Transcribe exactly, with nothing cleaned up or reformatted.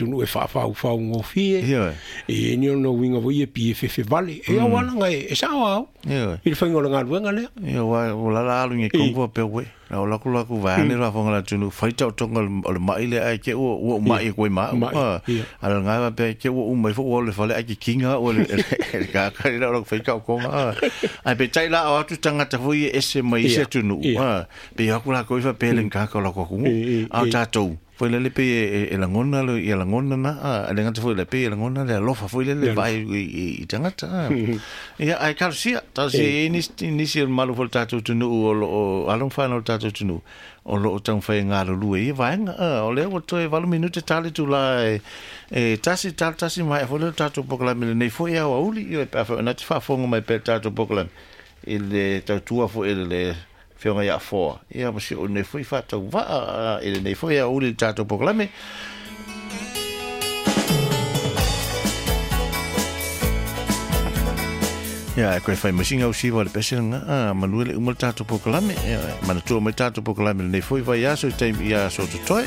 tunu e faafaaufaugofie Ioe. E ni ona uiga foi e pie fefevale e aualaga e e sao au Ioe. i le faiga o le galuega lea. Ia wa o la la alu ngi kongo pe we. La o la ku la ku va ne la fonga la tunu fai tau tonga o le mai le ai ke o o mai ko ma. Mai, ia. Ala nga va pe ke o mai fo o le fale ai ke kinga o le le ka ka la o fai tau konga. Ai pe tai la o atu tangata foi e ese mai se Ia, tunu. ia. Pe ia ku la ko ifa pe le ka ka la ko ku. E, e, A e. tatou. Foi le pe e langona le ia langona na a le ngata foi le pe e langona le alofa foi le le vai i i tangata. Ia ai kalsia ta se ni ni se malu foi tatou tunu o lo o along fa no tatou tunu o lo o tau fai ngā lulu e vaenga o le o toe valu minute tale tu la e e tasi tali tasi mai foi le tatou pokalame le nei foi au auli i pe fa na te faafofoga mai pe tatou pokalame i le tautua foi i le fioga ia foa ia ma si o nei foi faatau vaa i le nei foi auli le tatou pokalame. Ia, e koe whai masinga o siwa le pese nga, a, manue le uma le tatou pokalame, ia, manatua mai tatou pokalame le nei foi vai aso i taimi i aso totoe.